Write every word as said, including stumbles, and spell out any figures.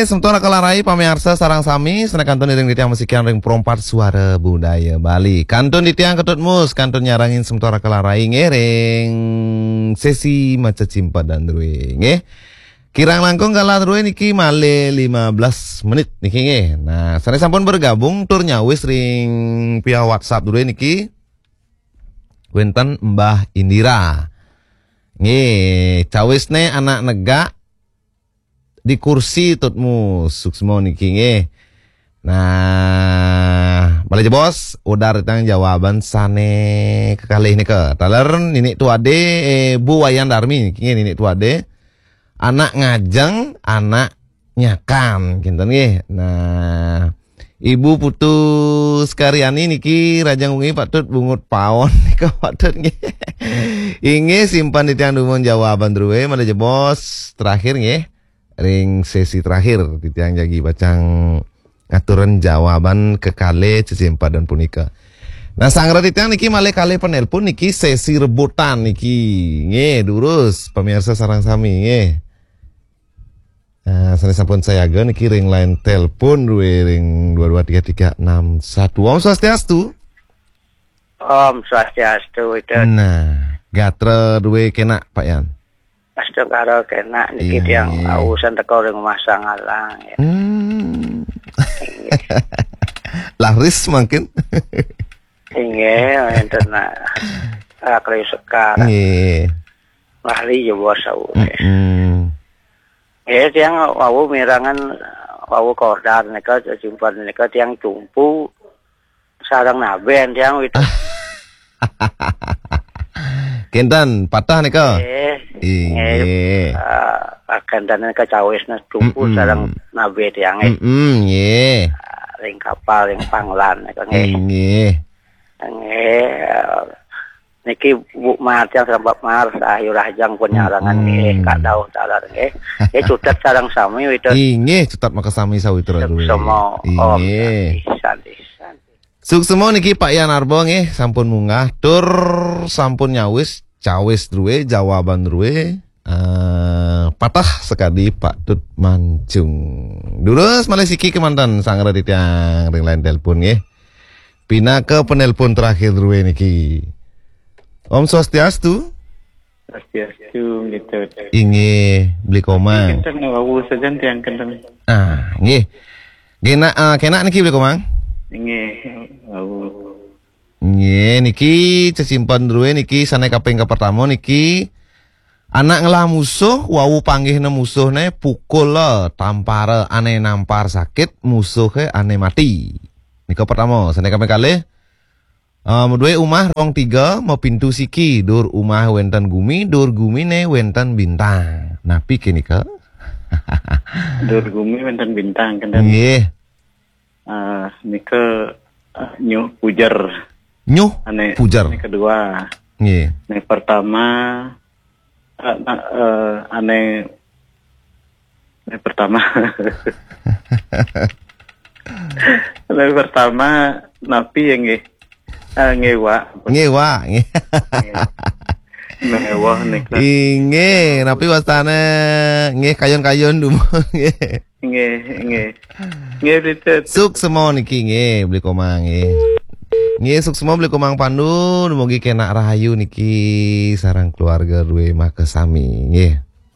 Semeton Kelarai pamiarsa sareng sami, sané kantun iring titiang masikian ring Pro empat Suara Budaya Bali. Kantun titiang Ketut Mus, kantun nyarengin semeton Kelarai nggih ring sesi maca cimpedan drué nggih. Kirang langkung galah drué niki malih lima belas menit niki nggih. Nah, sané sampun bergabung tur nyawis ring via WhatsApp drué niki wénten Mbah Indira. Nggih, cawisné anak negak di kursi tutmu suksma niki nggih. Nah, malih jebos, udah tang jawaban sané kekalih nika. Taler Ninik Tuade, eh, Bu Wayan Darmi niki nggih, Ninik Tuade. Anak ngajeng, anak nyakan, kinten nggih. Nah, Ibu Putu Sekaryani niki rajang wengi patut bungut paon nika patut nggih. Inggih, simpen titiang dumun jawaban drué, malih jebos terakhir nggih. Ring sesi terakhir titiang jagi pacang ngaturin jawaban kekalih cecimpedan punika. Nah, sanggra titiang niki malih kalih penelpon niki sesi rebutan niki. Nggih, durus pamiarsa sareng sami nggih. Nah, sané sampun sayaga niki ring line telepon drué ring dua dua tiga tiga enam satu. Om Swastiastu. Om Swastiastu, Widut. Nah, gatra drué kénak, Pak Yan. Astungkara kénak niki. Iya, tiang iya. Ausan teka ring Rumah Sangalang ya. Hmm. Laris mungkin. Inggih, wénten, ah, Krius Sekar. Nggih. Lali ya bos, wau. Mm-mm. Nggih, tiang wau mirengang wau kordar nika, cecimpedan nika tiang cumpu sareng nabén tiang, Widut. Kinten, patah nika. Nggih. Inggih. Nggih, ah, kinten nika cawisna cumpu. Mm-mm. Sareng nabén tiang nggih. Mm-mm, nggih. Ah, ring kapal, ring panglan nika nggih. Inggih. Nggih, ah, niki Bu Mar tiang sareng Pak Mar, Ayu Rahajeng pun nyarengan nggih, mm-mm. Kak Daud taler nggih. Nggih, cutet sareng sami, Widut. Inggih, cutet makasami sawitra drué. Suksma, Om. Inggih. Santi, santi, santi. Suksma niki Pak Yan Arba nggih, sampun munggah tur sampun nyawis, cawis drué, jawaban drué. Eh, patah sekadi patut mancung. Durus malih siki kémanten sanggra titiang ring line telepon nggih. Pinaka penelpon terakhir drué niki. Om Swastiastu. Swastiastu, gitu. Inggih, Beli Komang. Kinten wau sajan tiang kinten. Ah, nggih. Nggih, nak, ah, kénak niki Beli Komang. Inggih, wau. Nggih, niki cecimpedan drué niki sané kaping kapertama niki anak ngelah musuh, wau panggihna musuhné, pukula, tampara, ané nampar sakit, musuhé ané mati. Nika pertama, sané kaping kalih. Em, dué umah rong tiga, mapintu siki, dur umah wénten gumi, dur guminé wénten bintang. Napi ké nika? Dur gumi wénten bintang, kinten. Nggih. Ah, nika, ah, Nyuh Pujer. Nyuh Ané, Pujer. Ané kedua. Nggih. Ané pertama, ah, na-, eh, ané, ané pertama. Ané pertama, napi ya nggih? Ah, ngéwa. Ngéwa, nggih. Nggih. Ngéwa nika. Inggih, napi wastané? Nggih, kayun-kayun dumun, nggih. Nggih, nggih. Nggih, Bli Tut. Suksma niki nggih, Bli Komang nggih. Nggih, suksma Bli Komang Pandu, dumugi kénak rahayu niki sareng keluarga drué makasami nggih.